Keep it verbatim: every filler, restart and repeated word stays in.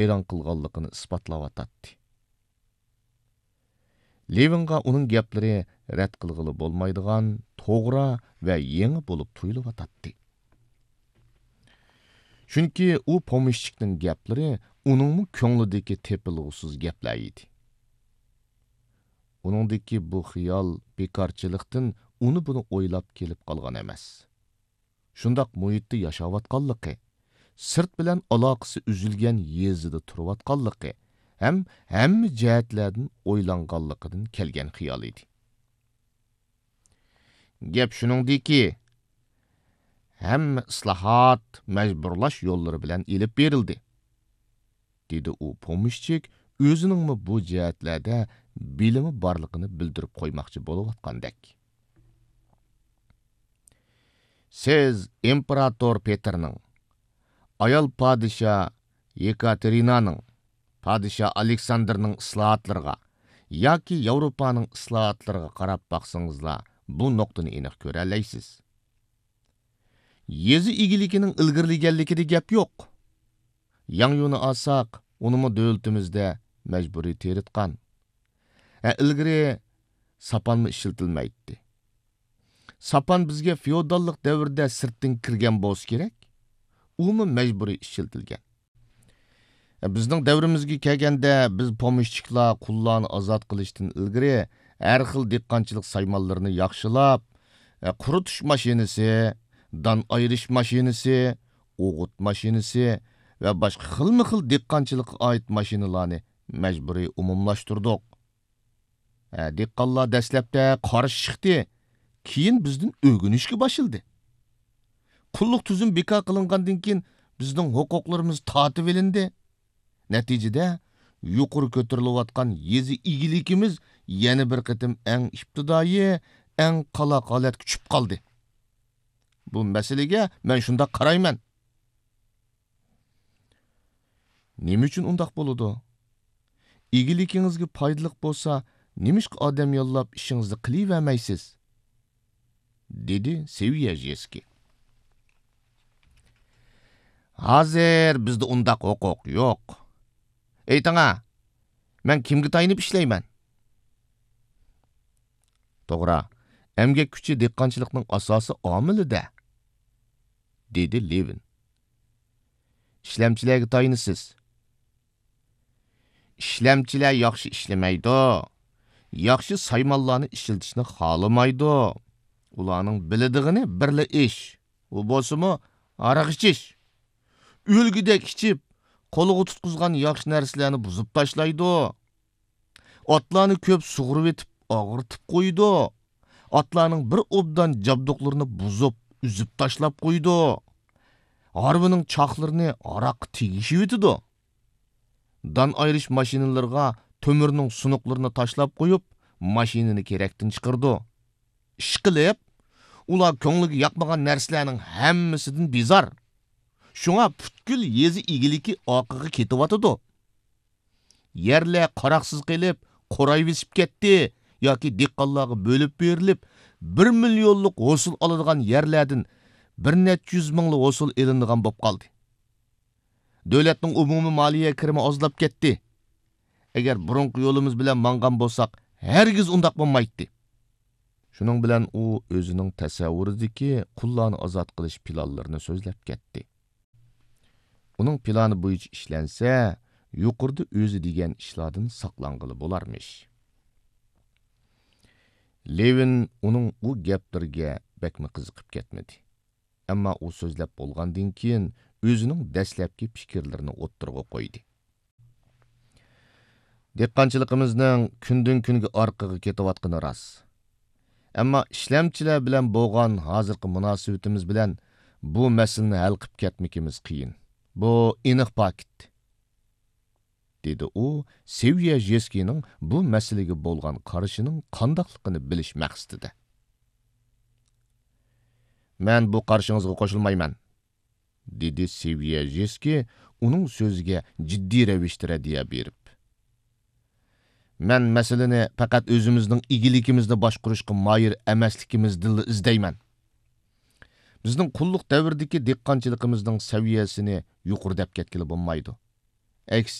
ئېلان قىلغانلىقىنى ئىسپاتلاۋاتاتتى. لېۋىنغا ئۇنىڭ گەپلىرى رەت قىلغىلى بولمايدىغان، توغرا ۋە يېڭى بولۇپ تۇيۇلۇۋاتاتتى. چۈنكى ئۇ پومېشچىكنىڭ گەپلىرى ئۇنىڭمۇ كۆڭلىدىكى تېپىلغۇسىز گەپلەر ئىدى. ئۇنىڭدىكى بۇ خىيال بىكارچىلىقتىن ئۇنى-بۇنى ئويلاپ كېلىپ قالغان ئەمەس. شۇنداق مۇھىتتا ياشاۋاتقانلىقى، سىرت بىلەن ئالاقىسى ئۈزۈلگەن يېزىدا تۇرۇۋاتقانلىقى ھەم ھەممە جەھەتلەردىن ئويلانغانلىقىدىن كەلگەن خىيال ئىدى. گەپ شۇنىڭدىكى، ھەممە ئىسلاھات مەجبۇرلاش يوللىرى بىلەن ئېلىپ بېرىلدى، دېدى ئۇ پومېشچىك ئۆزىنىڭمۇ بۇ جەھەتلەردە بىلىمى بارلىقىنى بىلدۈرۈپ قويماقچى بولۇۋاتقاندەك. سىز ئىمپېراتور پېتىرنىڭ، ئايال پادىشاھ يېكاتېرىنانىڭ، پادىشاھ ئالېكساندىرنىڭ ئىسلاھاتلىرىغا ياكى ياۋروپانىڭ ئىسلاھاتلىرىغا قاراپ باقسىڭىزلا، بۇ نۇقتىنى ئېنىق كۆرەلەيسىز. يېزا ئىگىلىكىنىڭ ئىلگىرىلىگەنلىكىدە گەپ يوق. ياڭيۇنى ئالساق، ئۇنىمۇ دۆلىتىمىزدە مەجبۇرىي تېرىتقان. ھە، ئىلگىرى ساپانمۇ ئىشلىتىلمەيتتى. ساپان بىزگە فېئوداللىق دەۋردە سىرتتىن كىرگەن بولسا كېرەك، ئۇمۇ مەجبۇرىي ئىشلىتىلگەن. بىزنىڭ دەۋرىمىزگە كەلگەندە، بىز پومېشچىكلار قۇللارنى ئازاد قىلىشتىن ئىلگىرى ھەر خىل دېھقانچىلىق سايمانلىرىنى ياخشىلاپ، قۇرۇتۇش ماشىنىسى، دان ئايرىش ماشىنىسى، ئوغۇت ماشىنىسى ۋە باشقا خىلمۇ خىل دېھقانچىلىققا ئائىت ماشىنىلارنى مەجبۇرىي ئومۇملاشتۇردۇق. ھە، دېھقانلار دەسلەپتە قارشى چىقتى، كېيىن بىزدىن ئۆگىنىشكە باشلىدى. قۇللۇق تۈزۈم بىكار قىلىنغاندىن كېيىن، بىزنىڭ ھوقۇقلىرىمىز تارتىۋېلىندى. نەتىجىدە، يۇقىرى كۆتۈرۈلۈۋاتقان يېزا ئىگىلىكىمىز يەنە بىر قېتىم ئەڭ ئىپتىدائىي، ئەڭ قالاق ھالەتكە چۈشۈپ قالدى. بۇ مەسىلىگە مەن شۇنداق قارايمەن. نېمە ئۈچۈن ئۇنداق بولىدۇ؟ ئىگىلىكىڭىزگە پايدىلىق بولسا، نېمىشقا ئادەم ياللاپ ئىشىڭىزنى قىلىۋەرمەيسىز؟ دېدى سېۋيەژېسكىي. ھازىر بىزدە ئۇنداق ھوقۇق يوق. ئېيتىڭا، مەن كىمگە تايىنىپ ئىشلەيمەن؟ توغرا، ئەمگەك كۈچى دېھقانچىلىقنىڭ ئاساسىي ئامىلى-دە، دېدى لېۋىن. ئىشلەمچىلەرگە تايىنىسىز. ئىشلەمچىلەر ياخشى ئىشلىمەيدۇ، ياخشى سايمانلارنى ئىشلىتىشنى خالىمايدۇ. ئۇلارنىڭ بىلىدىغىنى بىرلا ئىش، ئۇ بولسىمۇ ھاراق ئىچىش. ئۆلگۈدەك ئىچىپ، قولىغا تۇتقۇزغان ياخشى نەرسىلەرنى بۇزۇپ تاشلايدۇ. ئاتلارنى كۆپ سۇغۇرۇۋېتىپ، ئاغرىتىپ قويىدۇ. ئاتلارنىڭ بىر ئوبدان جابدۇقلىرىنى بۇزۇپ، ئۈزۈپ تاشلاپ قويىدۇ. ھارۋىنىڭ چاقلىرىنى ھاراققا تېگىشىۋېتىدۇ. دان ئايرىش ماشىنىلىرىغا تۆمۈرنىڭ سۇنۇقلىرىنى تاشلاپ قويۇپ، ماشىنىنى كېرەكتىن چىقىرىدۇ. ئىشقىلىپ، ئۇلار كۆڭلىگە ياقمىغان نەرسىلەرنىڭ ھەممىسىدىن بىزار. شۇڭا پۈتكۈل يېزا ئىگىلىكى ئارقىغا كېتىۋاتىدۇ. يەرلەر قاراقسىز قېلىپ، قۇرايۋېسىپ كەتتى ياكى دېھقانلارغا بۆلۈپ بېرىلىپ، بىر مىليونلۇق ھوسۇل ئالىدىغان يەرلەردىن بىر نەچچە يۈز مىڭلا ھوسۇل ئېلىنىدىغان بولۇپ قالدى. دۆلەتنىڭ ئومۇمىي مالىيە كىرىمى ئازلاپ كەتتى. ئەگەر بۇرۇنقى يولىمىز بىلەن ماڭغان بولساق، ھەرگىز ئۇنداق بولمايتتى. شۇنىڭ بىلەن ئۇ ئۆزىنىڭ تەسەۋۋۇرىدىكى قۇللارنى ئازاد قىلىش پىلانلىرىنى سۆزلەپ كەتتى. ئۇنىڭ پىلانى بويىچە ئىشلەنسە، يۇقىرىدا ئۆزى دېگەن ئىشلاردىن ساقلانغىلى بولارمىش. لېۋىن ئۇنىڭ ئۇ گەپلىرىگە بەكمۇ قىزىقىپ كەتمىدى. ئەمما ئۇ سۆزلەپ بولغاندىن كېيىن، ئۆزىنىڭ دەسلەپكى پىكىرلىرىنى ئوتتۇرىغا قويدى. دېھقانچىلىقىمىزنىڭ كۈندىن-كۈنگە ئارقىغا كېتىۋاتقىنى راست. ئەمما ئىشلەمچىلەر بىلەن بولغان ھازىرقى مۇناسىۋىتىمىز بىلەن بۇ مەسىلىنى ھەل قىلىپ كەتمىكىمىز قىيىن. بۇ ئېنىق پاكىت، دېدى ئۇ سېۋيەژېسكىينىڭ بۇ مەسىلىگە بولغان قارىشىنىڭ قانداقلىقىنى بىلىش مەقسىتىدە. مەن بۇ قارىشىڭىزغا قوشۇلمايمەن، دېدى سېۋيەژېسكىي ئۇنىڭ سۆزىگە جىددىي رەۋىشتە رەددىيە بېرىپ. مەن مەسىلىنى پەقەت ئۆزىمىزنىڭ ئىگىلىكىمىزنى باشقۇرۇشقا ماھىر ئەمەسلىكىمىزدىنلا ئىزدەيمەن. بىزنىڭ قۇللۇق دەۋرىدىكى دېھقانچىلىقىمىزنىڭ سەۋىيەسىنى يۇقىرى دەپ كەتكىلى بولمايدۇ. ئەكس